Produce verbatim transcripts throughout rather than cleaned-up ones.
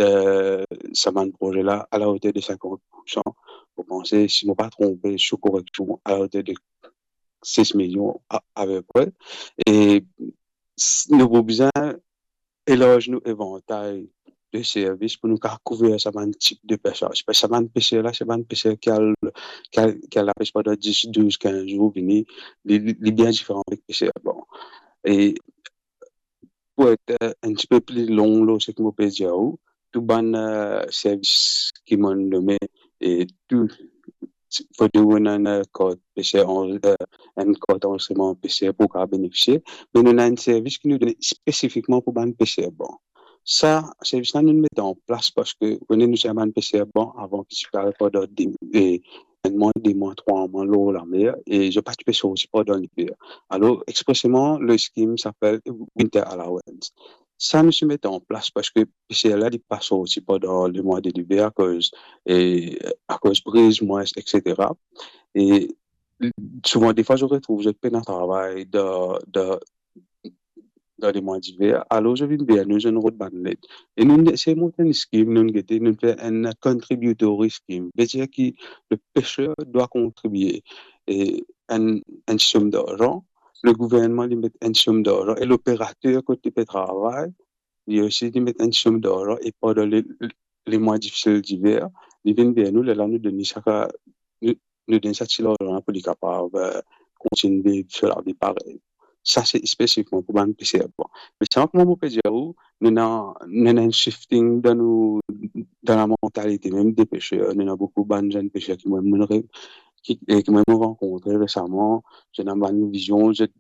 eh, sa bann proze la, a la oter de sinkant poursan. Mo panse, si mo pa tronpe, sou koreksion, a la oter de sis milion a, apepre. E s-, nou pou bizin elarzi nou evantay de servis pou nou kapav kouver sa bann tip de pes la. Parski sa bann peser la, se bann peser ki al, ki al, ki al lapes pandan dis, douz, kinz zour, vini, li, li, li bien diferan avek peser arban. E pou et, eh, enn tipe pli long lor seki mo pe dir ou, tou bann, eh, servis ki mo nome, e tou, fode ou ena enn, eh, kart peser, an-, eh, enn kart anrezistreman peser pou kapav benefisie, me nou ena enn servis ki nou done spesifikman pou bann peser arban. Sa servis la nou met an plas parski, kone nou ti ena bann peser arban avan ki ti pe al pandan de, eh, enn mwa, de mwa, trwa mwa lor lamer, e zot pa ti pe sorti pandan liver. Alor, expreseman, le skim s'appelle Winter Allowance. Sa nou ti met an plas parski peser la, li pa sorti pandan lemwa de liver akoz, e, akoz priz, mwin, etsetera. E souvan, defwa, zot retrouv zot pena travay dan, dan, dan lemwa diver. Alor, zot vinn ver nou, zot rod bann led. E nou, se mont enn skim, nou gete, nou fer enn contributory scheme. Vedir ki le pêcheur doit contribuer, e, enn, enn som darzan, le gouvernman, li met enn som darzan, e loperater kot li pe travay, li osi, li met enn som darzan, e pandan le, le, lemwa difisil diver, li vinn ver nou, lerla nou donn li sa ka-, nou, nou donn sa ti larzan la pou li kapav, eh, kontign viv so lavi parey. Sa se spesifikman pou bann peser arban. Me sa, kouma mo pe dir ou, nou ena, nou ena enn shifting dan nou, dan lamantalite mem de peser. Nou ena boukou bann zenn peser ki mo, mo re-, ki, e ki mo, mo rankontre resaman, zot ena bann vizion, zot,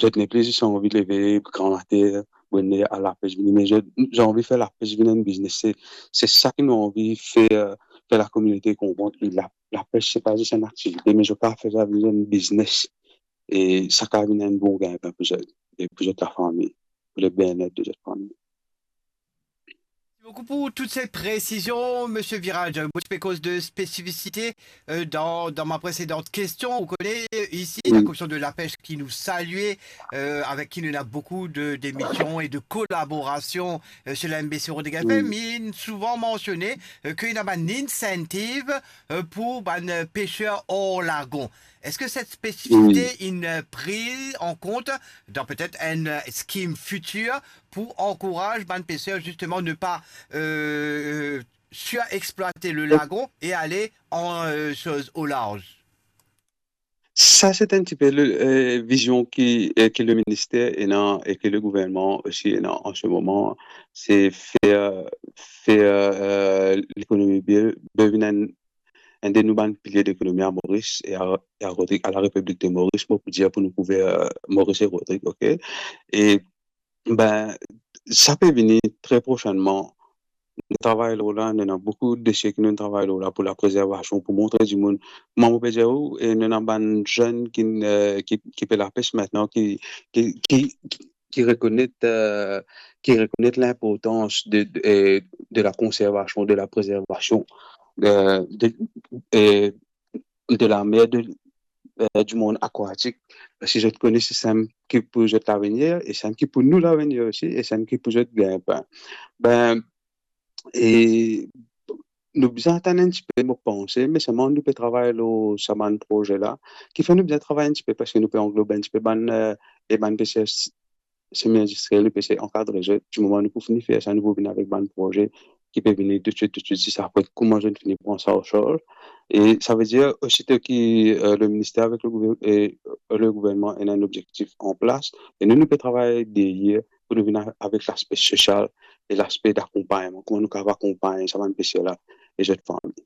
zot nepli zis anvi leve gramatin, bonner, al lapes, vini, me zot, zot anvi fer lapes vinn enn biznes. Se, se sa ki nou anvi fer, fer lakominote konpran ki la, lapes, se pa zis enn aktivite, me zot kapav fer sa vinn enn biznes. E sa kapav vinn enn bon gainpin pou zot, e pou zot lafami, pou le bien-être de zot fami. Merci beaucoup pour toutes ces précisions, Monsieur Virage. Mo ti pe koz de spesifisite, euh, dans, dans ma précédente question. Vous connaissez, ici, la Commission de la Pêche qui nous salue, euh, avec qui nous avons beaucoup de, d'émissions et de collaborations, euh, sur la M B C Rodrigues F M. Il est souvent mentionné, euh, qu'il y a un incentive, euh, pour les pêcheurs hors lagon. Est-ce que cette spécificité est prise en compte dans peut-être un, euh, scheme futur pour encourager les pêcheurs, justement, ne pas, euh, euh, surexploiter le lagon et aller en, euh, chose au large ? Sa se enn tipe le, eh, vizion ki, eh, ki le minister ena e ki le gouvernman osi ena an se moman, se fer, fer, eh, lekonomi bie, bie vinn enn, enn de nou bann pilie lekonomi a Moris e a, e a Rodrig, a la Repiblik de Moris, mo pou dir pou nou kouver, eh, Moris e Rodrig, ok? E Be, sa pe vini tre prosennman. Nou travay lor la, nou ena boukou dosie ki nou travay lor la pou laprezervasion, pou montre dimoun. Mwa, mo pe dir ou, e nou ena bann zenn ki, eh, ki, ki pe lapes aster, ki, ki, ki, ki rekonet, eh, ki rekonet linportans de, de, eh, de la konservasion, de la prezervasion, eh, de, eh, de la mer, de, eh, du monde aquatique. Si zot kone se sa ki pou zot lavenir, e sa ki pou nou lavenir osi, e sa ki pou zot gainpin. Be, e nou bizin atann enn tipe, mo panse, me selman nou pe travay lor sa bann proze la, ki fer nou bizin travay enn tipe, parski nou pe anglob enn tipe bann, eh, e bann peser semi-industriel, nou pe sey ankadre zot. Dimoman nou pou fini fer sa, nou pou vinn avek bann proze ki pe vini toutswit, toutswit, zis apre kouma zot fini pran sa an sarz. E sa ve dir, osito ki, eh, le minister avek le gouver-, e, le gouvernman ena enn obzektif an plas, e nou, nou pe travay deryer pou nou vinn a-, avek laspe sosial e laspe dakonpagnman, kouma nou kapav akonpagn sa bann peser la e zot fami.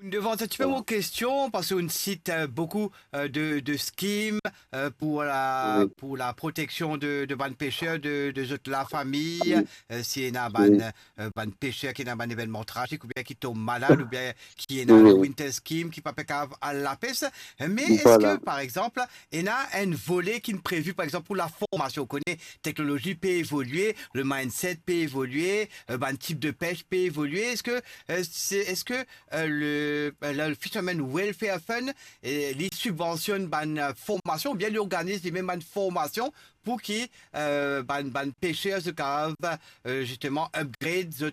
Ou devant un petit peu mon question, parce qu'on cite, euh, beaucoup, euh, de, de schemes, euh, pour la, pour la protection de, de bann pêcheurs, de, de zot lafami, euh, si ena bann, euh, bann pêcheurs ki ena bann evenman trazik, oubien ki tom malad, oubien ki ena le winter scheme, ki pa pe kapav al lapes. Mais est-ce que, par exemple, ena enn vole ki previ, par exemple, pour la formation ? Ou kone, teknolozi pe evolie, le mindset pe evolie, euh, bann tip de pêche pe evolie. Est-ce que, euh, c'est, est-ce que, euh, le, euh, le Fisherman Welfare Fund, eh, li sibvansionn bann, euh, formasion, oubien li organiz li mem bann formasion pou ki, euh, bann, bann pêcheurs zot kapav, euh, justement upgrade zot,